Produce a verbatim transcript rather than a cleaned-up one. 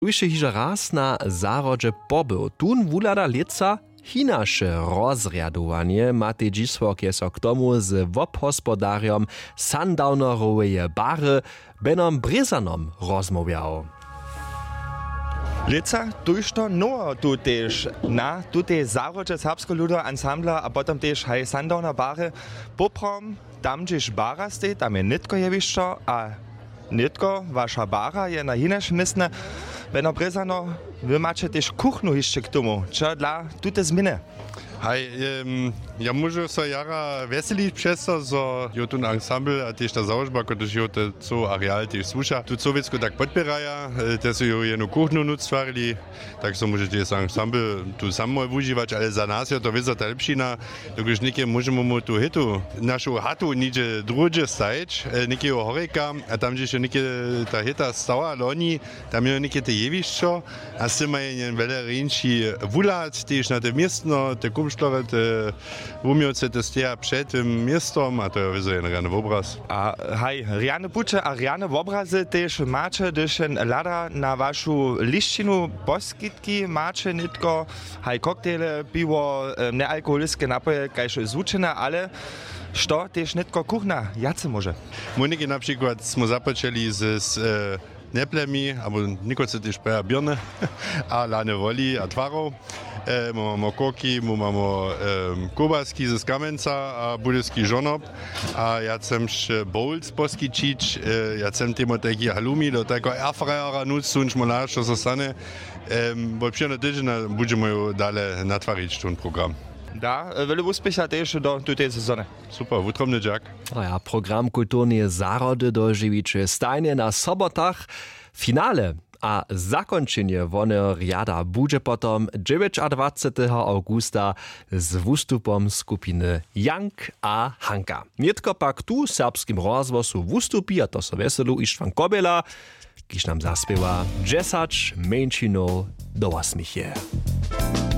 Tuž je hižo raz na zahrodźe pobył, tón wuhlada lětsa hinaše rozrjadowanje. Matej dźisłok je so k tomu z wobhospodarjom Sundowneroweje bary Benom Brězanom rozmołwjał. Lětsa tójšto noweho tu tež na tutej zahrodźe serbskeho ludoweho ansambla a potom tež haj Sundowner bary. Poprawom, tam hdźež bara stej, tam je nětko jewišćo a nětko waša bara je na hinašim městnje. Beno brězano, wy maće tež kuchnu hišće k tomu, čo dla tute změny? Haj, ja móžu so jara wjeselić přez to, zo jo tón ansambl a tež ta załožba, kotryž jo te coł areal tež słuša, tu cołwěcku tak podpěraja. Te su jo jednu kuchnu nutř stwarili, tak so móžeće ansambl tu samo wužiwać, ale za nas jo to wězo ta lěpšina, dokelž něke móžemy mu tu hitu našu hatu něhdźe druhdźe stajić, někeho horjeka, a tam hdźež jo něke ta hita stała loni, tam jo něke te jewišćo, a z tym maja jen wjele rjeńši wuhlad tež na te městno, te kumštlorje, te wuměłce te steja před tym městom a to jo wězo jen rjany wobraz. A haj, rjane puće a rjane wobrazy tež maće, hdyž jen hlada na wašu lisćinu, poskitki maće nětko, haj koktejle, piwo, nealkoholiske napoje kaž zwučene, ale što tež nětko kuchna wjace móže? Móhnike na přikład smy započeli z z njeplemi abo někotre tež praja běrny, a lane woli a twarow. My mamy kurki, my mamy kołbaski z kamenca a budyski žonob, a ja chcemš bowls poskićić. Ja chcem temu tajki halumi do tajkeho airfryera nutř suńć, móhla što so stane. Wot přijadneho tydźenja budźemy ju dale natwarić tón program. Da wjele wuspěcha tež do tutej sezony. Super, wutrobny dźak. A ja program kulturneje zahrody dožiwiće stajnje na sobotach. Finale a zakónčenje woneho rjada budźe potom dźewjećadwaceteho awgusta z wustupom skupiny Jank a Hanka. Nětko pak tu w serbskim rozhłosu wustupi, a to so wjeselu, Ištwan Kobjela, kiž nam zaspěwa dźesać mjeńšinow do wosměchje.